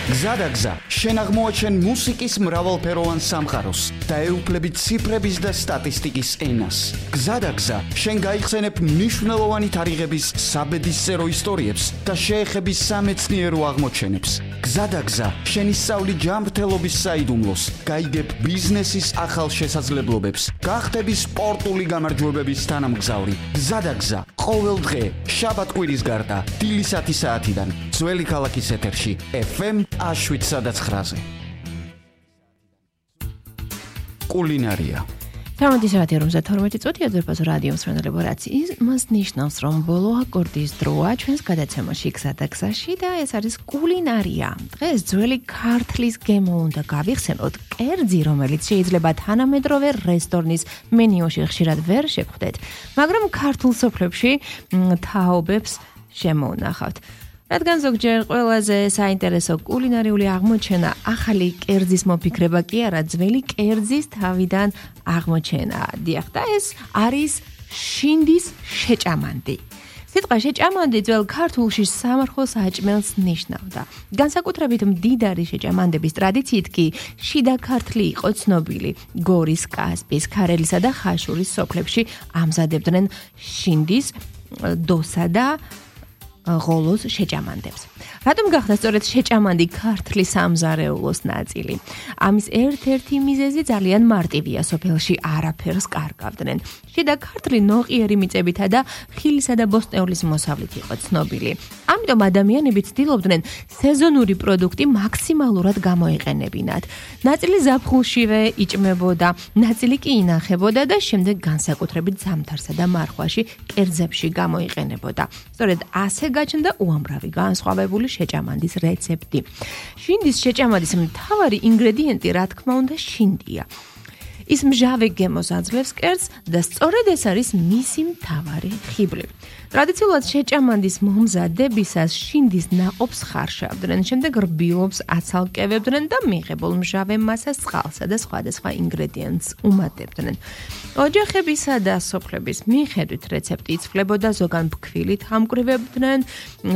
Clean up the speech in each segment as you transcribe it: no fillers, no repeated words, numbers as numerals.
გზადაგზა, შენ აღმოაჩენ მუსიკის მრავალფეროვან სამყაროს და ეუფლები ციფრების და სტატისტიკის ენას. გზადაგზა, შენ გაიხსენებ მნიშვნელოვანი თარიღების საბედისწერო ისტორიებს და შეეხები სამეცნიერო აღმოჩენებს. გზადაგზა, შენ ისწავლი ჯანმრთელობის საიდუმლოს, გაიგებ ბიზნესის ახალ შესაძლებლობებს, გახდები სპორტული გამარჯვებების თანამგზავრი. გზადაგზა, ყოველ დღე, შაბათ-კვირის გარდა, დილის 10 საათიდან, ძველი ქალაქის ეთერში, FM 7-9-ზე. კულინარია. 12:52 წუთი აზერბაიჯანის რადიო მსმენელებო, რაც იმას ნიშნავს, რომ ბოლო აკორდის დროა ჩვენს გადაცემაში გზადაგზაში და ეს არის კულინარია. დღეს ძველი ქართლის გემო უნდა გავიხსენოთ, კერძი, რომელიც შეიძლება თანამედროვე რესტორნის მენიუში ხშირად ვერ შეგხვდეთ, მაგრამ ქართულ სოფლებში თაობებს შემოუნახავთ. რადგან ზოგჯერ ყველაზე საინტერესო კულინარიული აღმოჩენა ახალი კერძის მოფიქრება კი არა, ძველი კერძის თავიდან აღმოჩენა. დიახ, და ეს არის შინდის შეჭამანდი. სიტყვა შეჭამანდი ძველ ქართულში სამარხოს საჭმელს ნიშნავდა. განსაკუთრებით მდიდარი შეჭამანდების ტრადიციით კი შიდა ქართლი იყო ცნობილი. გორის, კასპიის, ქარელისა და ხაშურის სოფლებში ამზადებდნენ შინდის, დოსა და ღოლოს შეჭამანდებს. რატომ გახდა სწორედ შეჭამანდი ქართლის სამზარეულოს ნაწილი? ამის ერთ-ერთი მიზეზი ძალიან მარტივია, სოფელში არაფერს კარგავდნენ. შიდა ქართლი ნოყიერი მიწებითა და ხილისა და ბოსტნეულის მოსავლით იყო ცნობილი. ამიტომ ადამიანები ცდილობდნენ სეზონური პროდუქტი მაქსიმალურად გამოიყენებინათ. ნაწილი ზაფხულშივე იჭმებოდა, ნაწილი კი ინახებოდა და შემდეგ განსაკუთრებით ზამთარსა და მარხვაში კერძებში გამოიყენებოდა. სწორედ ასე გაჩნდა უამრავი განსხვავებული შეჭამანდის რეცეპტი. შინდის შეჭამანდის მთავარი ინგრედიენტი, რა თქმა უნდა, შინდია. ის მჟავე გემოს აძლევს კერძს და სწორედ ეს არის მისი მთავარი ხიბლი. ტრადიციულად შეჭამანდის მომზადებისას შინდის ნაყოფს ხარშავდნენ, შემდეგ რბილობს აცალკევებდნენ და მიღებულ მჟავე მასას წყალსა და სხვადასხვა ინგრედიენტს უმატებდნენ. ოჯახებისა და სოფლების მიხედვით რეცეპტი იცვლებოდა, ზოგან ფქვილით ამკრივებდნენ,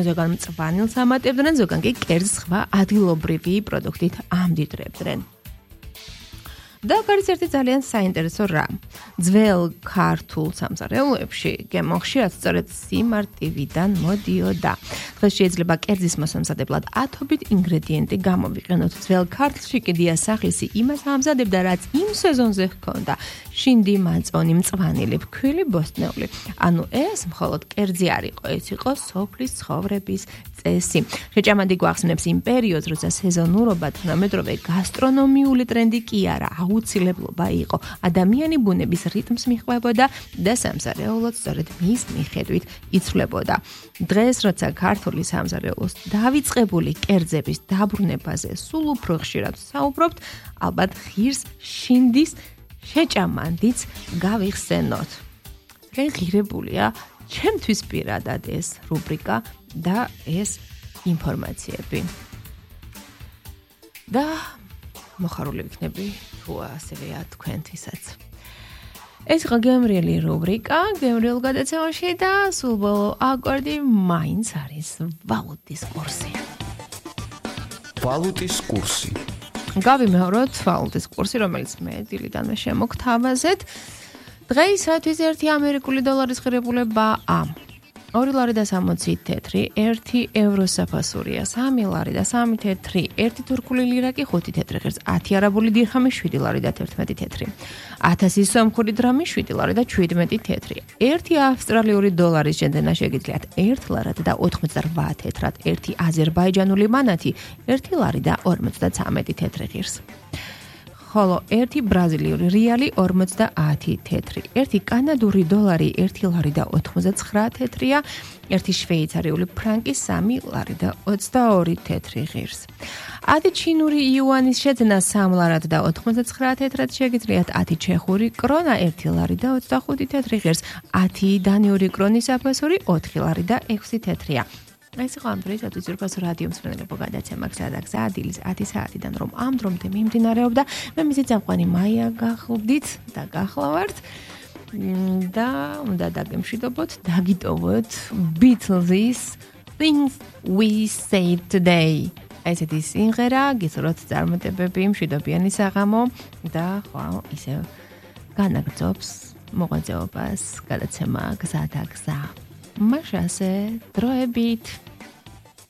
ზოგან მწვანილს ამატებდნენ, ზოგან კი კერძს სხვა ადგილობრივი პროდუქტით ამდიდრებდნენ. და არის ერთი ძალიან საინტერესო რამ. ძველ ქართულ სამზარეულოებში გემო ხშირად სწორედ სიმარტივიდან მოდიოდა. დღეს შეიძლება კერძის მოსამზადებლად ათობით ინგრედიენტი გამოვიყენოთ. ძველ ქართლში კი დიასახლისი იმას ამზადებდა, რაც იმ სეზონზე ჰქონდა: შინდი, მაწონი, მწვანილი, ფქვილი, ბოსტნეული. ანუ ეს მხოლოდ კერძი არ იყო, ეს იყო სოფლის ცხოვრების წესი. შეჭამანდი გვახსენებს იმ პერიოდს, როცა სეზონურობა თანამედროვე გასტრონომიული ტრენდი კი არა, აუცილებლობა იყო. ადამიანი ბუნების რიტმს მიჰყვებოდა და სამზარეულოდ სწორედ მის მიხედვით იცვლებოდა. დღეს, როცა ქართული სამზარეულოს დავიწყებული კერძების დაბრუნებაზე სულ უფრო ხშირად საუბრობთ, ალბათ ღირს შინდის შეჭამანდიც გავიხსენოთ. ძალიან ღირებულია ჩემთვის პირადად ეს რუბრიკა და ეს ინფორმაციები. და მოხარული ვიქნები თუ ასევეა თქვენთვისაც. ეს იყო გემრიელი რუბრიკა, გემრიელ გადაცემაში და სულ ბოლო აკორდი მაინც არის ვალუტის კურსი. ვალუტის კურსი. გავიმეოროთ ვალუტის კურსი, რომელიც მე დილიდანვე შემოგთავაზეთ. დღეისათვის 1 ამერიკული დოლარის ღირებულებაა 2 ლარი და 60 თეთრი, 1 ევრო საფასურია 3 ლარი და 3 თეთრი, 1 თურქული ლირა კი 5 თეთრი ღირს, 10 არაბული დირჰამი 7 ლარი და 11 თეთრი, 1000 სომხური დრამი 7 ლარი და 17 თეთრი, 1 ავსტრალიური დოლარის შეძენა შეგიძლიათ 1 ლარად და 88 თეთრად, 1 აზერბაიჯანული მანათი 1 ლარი და 53 თეთრი ღირს. ხოლო 1 ბრაზილიური რეალი 50 თეთრი, 1 კანადური დოლარი 1 ლარი და 89 თეთრია, 1 შვეიცარიული ფრანკი 3 ლარი და 22 თეთრი ღირს. 10 ჩინური იუანის შეძენა 3 ლარად და 89 თეთრად შეგიძლიათ, 10 ჩეხური კრონა 1 ლარი და 25 თეთრი ღირს, 10 დანიური კრონის საფასური 4 ლარი და 6 თეთრია. ეს იყო ამ დროისათვის ზურბაზო რადიო მსმენელებო გადაცემა გზადაგზა დილის 10 საათიდან, რომ ამ დრომდე მიმდინარეობდა. მე მისი წამყვანი მაია გახლდით და გახლავართ და უნდა დაგემშვიდობოთ, დაგიტოვოთ Beatles' Things We Say Today. ესეთი სიმღერა, გისურვებთ წარმატებები, მშვიდობიანი საღამო და ხო, ისევ განაგრძობს მოღვაწეობას, გადაცემა გზადაგზა. მაშასე დროებით